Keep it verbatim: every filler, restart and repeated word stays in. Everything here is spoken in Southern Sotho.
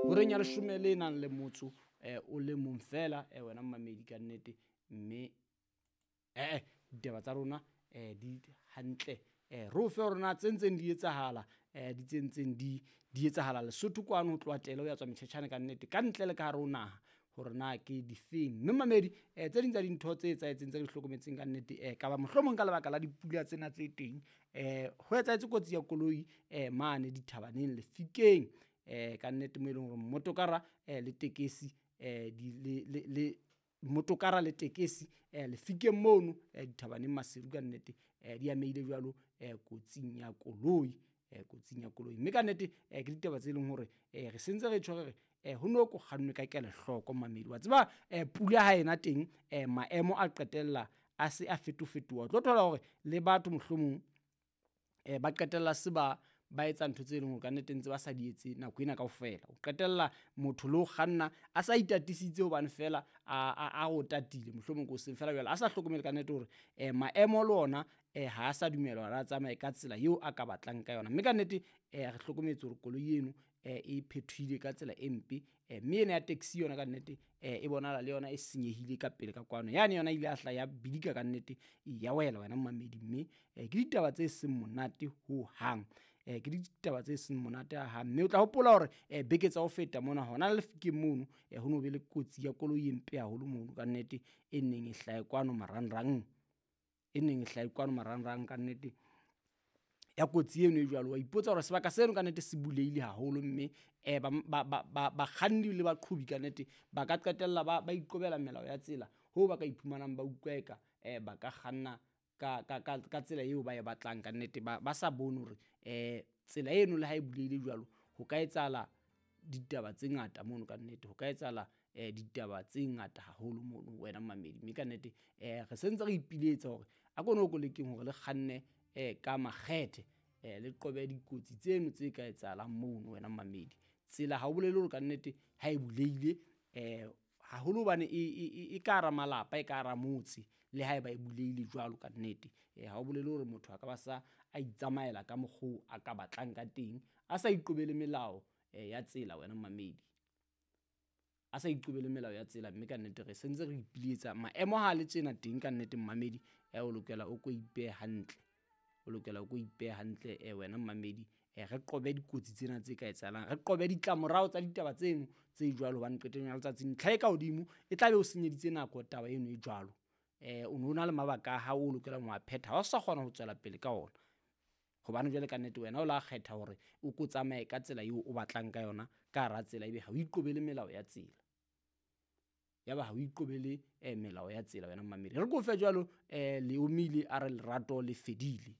Horeng ya leshome le nang le motso eh, o le mong fela eh, wena mmamedi ka nnete mme eh ditaba tsa rona eh, di hantle eh, re o fe hore na tse ntseng di etsahala eh, di tse ntseng di di etsahala Lesotho kwano ho tloha tele ho ya tswa metjhetjhane ka nnete ka ntle le ka hare ho naha hore na ke difeng. Mme mamedi eh, tse ding tsa dintho tse etsahetseng tse re di hlokometseng ka nnete eh, kaba mohlomong ka lebaka la dipula tsena tse teng eh, ho etsahetse kotsi ya koloi eh, mane dithabaneng Lefikeng eh, ka nnete mo e leng hore mmotokara eh, le tekesi eh, di, le, le, le motokara le tekesi eh, Lefikeng mono eh, dithabaneng Maseru ka nnete eh, di amehile jwalo eh, kotsing ya koloi eh, kotsing ya koloi. Mme ka nnete eh, ke ditaba tse leng hore eh, re sentse re tjho re re eh, ho no ko kgannwe ka kelohloko mamedi wa tseba eh, pula ha ena teng eh, maemo a qetella a se a fetofetoha. O tlo thola hore le batho mohlomong eh, ba qetella se ba ba etsa ntho tse leng hore ka nnete ntse ba sa di etse nako ena kaofela. O qetella motho le ho kganna a sa itatisitse hobane fela a a a o tatile mohlomong ko seng fela jwale a sa hlokomele ka nnete hore eh, maemo le ona eh, ha a sa dumela hore a tsamaye ka tsela eo a ka batlang ka yona. Mme ka nnete eh, re hlokometse hore koloi eno eh, e phethohile ka tsela e mpe eh, mme ena ya taxi yona ka nnete eh, e bonahala le yona e senyehile ka pele ka kwano. Yane yona ile ya hla ya bidika ka nnete ya wela wena mmamedi. Mme eh, ke ditaba tse seng monate ho hang eh, ke ditaba tse seng monate hang. Mme o tla hopola hore eh, beke tsa ho feta mona hona le Lefikeng mono eh, ho no be le kotsi ya koloi e mpe haholo mono ka nnete e neng e hlahe kwano marangrang e neng e hlahe kwano marangrang ka nnete ya kotsi eno e jwalo. Wa ipotsa hore sebaka seno ka nnete se bulehile haholo mme eh, ba, ba, ba, ba, bakganni le baqhobi ka nnete ba ka qetella ba, ba iqobela melao ya tsela hoo ba ka iphumanang ba utlwa eka eh, ba ka kganna ka, ka, ka, ka tsela eo ba e batlang ka nnete ba, ba sa bone hore eh, tsela eno le ha e bulehile jwalo ho ka etsahala ditaba tse ngata mono ka nnete, ho ka etsahala eh, ditaba tse ngata haholo mono wena mamedi. Mme ka nnete eh, re sentse re ipiletsa hore a ko no ko lekeng hore le kganne eh, ka makgethe eh, le qobe dikotsi tseno tse ka etsahalang mono wena mamedi. Tsela ha o bolele hore ka nnete ha e bulehile eh, haholo hobane e, e, e, e ka hara malapa e ka hara motse le haeba e bulehile jwalo ka nnete eh, ha o bolele hore motho a ka ba sa a itsamaela ka mokgwa a ka batlang ka teng a sa iqobele melao eh, ya tsela wena mamedi a sa iqobele melao ya tsela. Mme ka nnete re sentse re ipiletsa maemo ha le tjena teng ka nnete mmamedi eh, o lokela o ko ipehe hantle o lokela o ko ipehe hantle eh, wena mmamedi eh, re qobe dikotsi tsena tse ka etsahalang re qobe ditlamorao tsa ditaba tseno tse jwalo hobane qetellong ya letsatsi ntlha e ka hodimo e tla be o senyeditse nako taba eno e jwalo eh, o no na le mabaka a hao o lokelang ho a phetha ha o sa kgona ho tswela pele ka ona hobane jwale ka nnete wena o la kgetha hore o ko tsamaye ka tsela eo o batlang ka yona ka hara tsela ebe ha o iqobele melao ya tsela ya ba ha o iqobele eh, melao ya tsela wena mmamedi. Re ko fe jwalo eh, Leomile a re lerato le fedile.